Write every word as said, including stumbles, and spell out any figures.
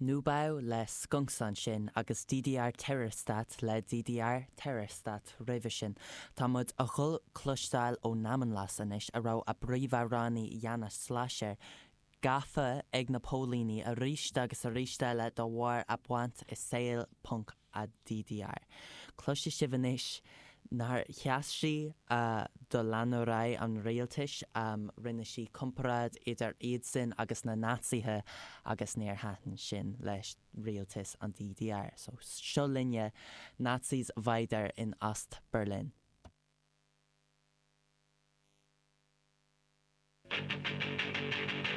Neubau le Skunks ansin agus DDR Terrorstaat le DDR Terrorstaat roimhe sin. Tá muid a dhul cloisteáil ó Namenlos anois a raibh a bpríomhamhránaí Jana Slasher gafa ag na póilíní arís agus arís eile de bharr a baint i saol punk an DDR. Cloisfidh sibh anois nár sheas sí uh, do leanúirí an rialtais um, rinne sí comparáid idir iadsan agus na Naitsithe agus níor thaitin sin leis rialtas an DDR. So seo linne Nazis weiter in Ost Berlin. Thank